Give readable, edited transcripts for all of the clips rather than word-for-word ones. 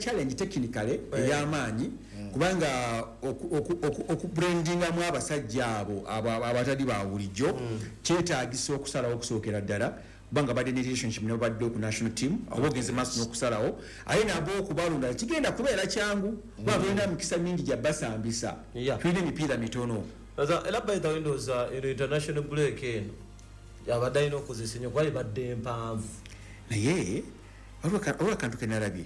challenge technically ey'amaanyi, kubanga okubrandingamu abasajja abo abatali ba bulijjo kyetaagisa okusalawo okusookera ddala, kubanga badde ne relationship ne babadde ku national team, oba ogenze maaso n'okusalawo, aye nabo okubalonda kigenda kubeera kyangu, kuba tulina mikisa mingi gya basambisa. Tulina emipiira mitono. Era by the way, ndowooza eno international break eno abadde alina okukozesa ennyo, kuba ebadde empanvu. Naye waliwo akantu kenalabye.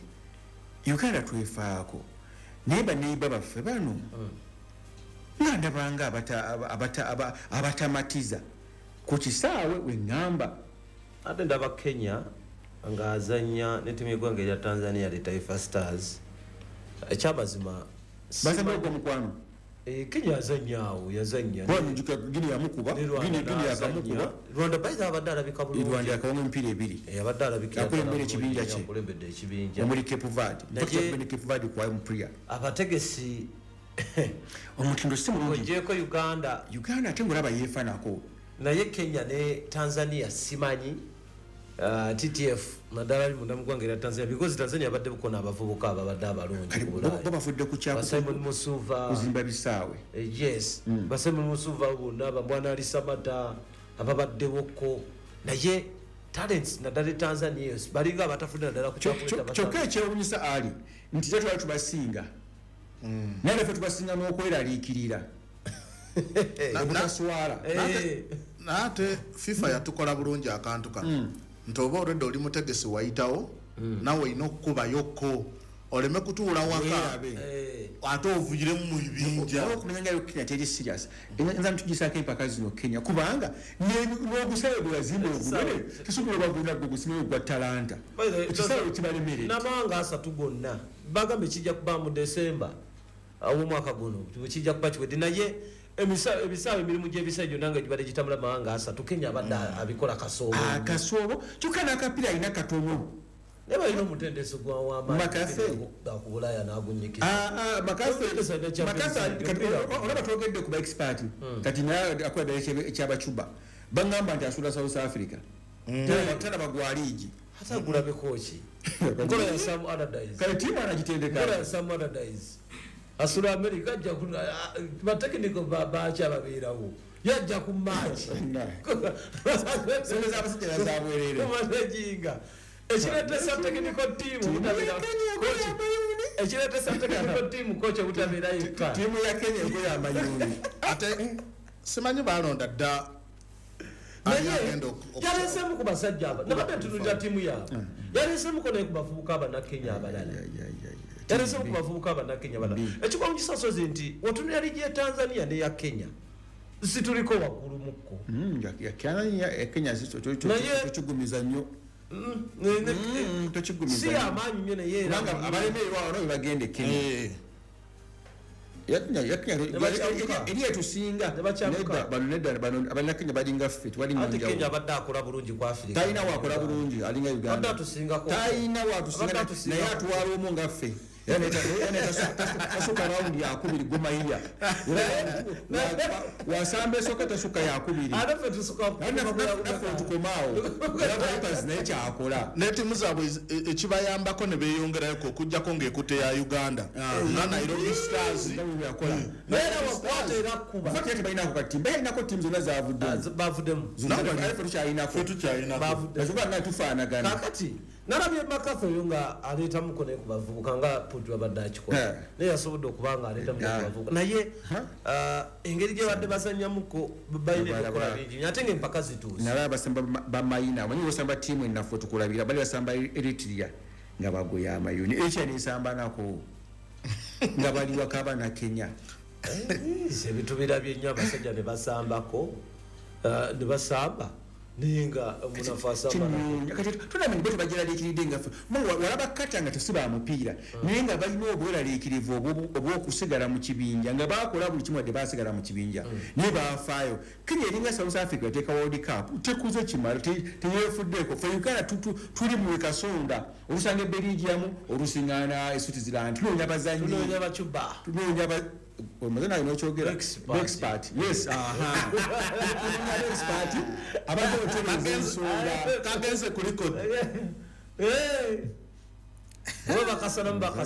Uganda twefaako, naye baneiba baffe bano nga ndabanga abatamatiza ku kisaawe weŋŋamba. Ate ndaba Kenya ng'azannya ne ttiimu y'eggwanga erya Tanzania, the Taifa Stars. Ekyamazima Basamba ogwo mukwano. Kenya yazannya awo, yazannya. Njuka Gini yamukuba. Ne Rwanda Gini n'azannya. yakamukuba. Rwanda by the way abadde alabika bulungi. Rwanda yakawanga emipiira ebiri. Abadde alabika. Akulembera ekibinja kye. Akulembedde ekibinja. Omuli Cape Verde. Naye ne Cape Verde kwayo mupria. Abategesi Omutindo si mulungi. Ogyeko Uganda. Uganda ate ngolaba yeefanako. Naye Kenya ne Tanzania simanyi, TTF naddala ali munda mu ggwanga erya Tanzania, because Tanzania abadde bukona abavubuka ababadde abalungi Kati ku bo Bulaaya. bo bafudde ku Ba Simon Musuva. Kuzimba bisaawe. Yes, ba Simon Musuva bonna, bambwana Ali Samata ababaddewokko, naye talents naddala e Tanzania eyo balinga abatafudde naddala ku kyakuleeta. Kyokka ekyewunyisa ali nti tetwali tubasinga, naye naffe tubasinga n'okweraliikirira obutaswala. Naye ate FIFA yatukola bulungi akantu kano, nti oba olwedde oli mutegesi wayitawo, nawe olina okukubayokko oleme kutuula waka. Weerabe. Ate ovuyiremu mu bibinja. Olwokumanya nga yo Kenya teri serious, nza ntugisaako empaka zino Kenya, kubanga n'ogusaawe gwe yazimba ogunene tesobola bagunda gwe gusimayo gwa Talanta. By the way, Ekisaawe kibalemerera. N'amawanga 30 gonna bagambye kijja kuba mu December ow'omwaka guno kijja kuba kiwedde, naye ebisaawe, emirimu gy'ebisaawe gyonna nga gibadde gitambula mawanga 30, Kenya abadde abikola kasoobo. Akasoobo, kyokka n'akapiira alina katono. Naye balina omutendesi McCarthy. gwawamaanyi Bulaaya n'agunyikiza. Ah, ah, McCarthy. Omutendesi alina Champions McCarthy, League, kati omupiira. olaba twogedde ku ba expert, kati naye akola ddala ekyabacuba, baŋŋamba nti asula South Africa. Talaba gwa liigi. Ate agulabeko ki? Nkola ya Sam Allardyce. Kale tiimu anagitendeka. Nkola ya Sam Allardyce, asula America, ajja batechnical baki ababeerawo, yajja ku match. Sente z'abasajja zabwerere. Managinga ekireetesa technical team obutabeera coach, ekireetesa technical team coach obutabeera yekka. Tiimu ya Kenya egoya amayuuni. Ate simanyi balonda dda ani Naye agenda yaleesemu ku basajja aba nabadde ntunulira ttiimu yaabwe, yaleesemuko naye ku bavubuka abannakenya abalala, yaleesemu ku bavubuka abannakenya abalala. Ekikwawunyisa sozi nti otunulira liigi ya Tanzania neya Kenya, situliko waggulu mukko. Ya Kenya tokigumiza nnyo. Tokigumiza Si nnyo. amaanyi nnyo, naye era Kubanga abalemererwa wano bebagenda e Kenya. Ne bakyamuka. Eri etusinga. Ne bakyamuka. Nedda, bano nedda, bano abannakenya balinga ffe, tewali Ate Kenya njawulo. abadde akola bulungi ku Africa. Talina wakola bulungi, alinga Abadde Uganda. atusingako. Talina watusinga. Abadde atusingako. Naye atwala omu nga ffe. Era tasuka rawundi yakubiri gumayiya wasamba esooka tasuka yakubiri. Ate ffe tusuka. Naffe tukomaawo, era Vipers naye kyakola. N'ettiimu zaabwe ekibayambako ne beeyongerayoko okugjako ng'ekutte ya Uganda nga Nairobi Stars. Yakola. Naye era wakwata era kuba. Ffe tebalinako katimba, yalinako tiimu zonna zavuddemu. Bavuddemu. Ffe tukyalinako. Ffe tukyalinako. Bavuddemu. Nazuba nga tufaanagana. Kakati nalabye McCarthy oyo nga aleetamuko naye ku bavubuka nga Putu abadde akikola. Naye yasobodde okuba nga aleetamuko ku bavubuka, naye engeri gye badde bazannyamuko balina ebyokukola bingi nnyo, ate ngaempaka zituuse. Nalaba basamba bamayina, omanyi osamba tiimu enafu tukulabira bali basamba Eritrea nga bagoya amayuni, ekya nesamba nako nga bali waka na Kenya. Ebintu birabye nnyo, abasajja ne basambako, ne basamba, naye nga omunafu asamba nako. Kinoonya kati tunamenye bo tebagyeraliikiridde nga ffe. Walaba kata nga tesiba mupiira, naye nga balina obweraliikirivu obw'okusigala mu kibinja, nga bakola buli kimu wadde basigala mu kibinja, naye bafaayo. Kenya eringa South Africa, eteeka World Cup tekuze kimala, teyeefuddeeko. Fe Uganda tuli mu kasonda, olusanga eberigiamu, olusiŋŋaana e Switzerland, tunoonya bazanyi. Tunoonya bacuba. Tunoonya omaze naye nokyogera. Expert. Expert, yes, aha, tunoonya expert abadde otereeza ensonga. Kagenze kuliko. Oba bakasalamu bakasala.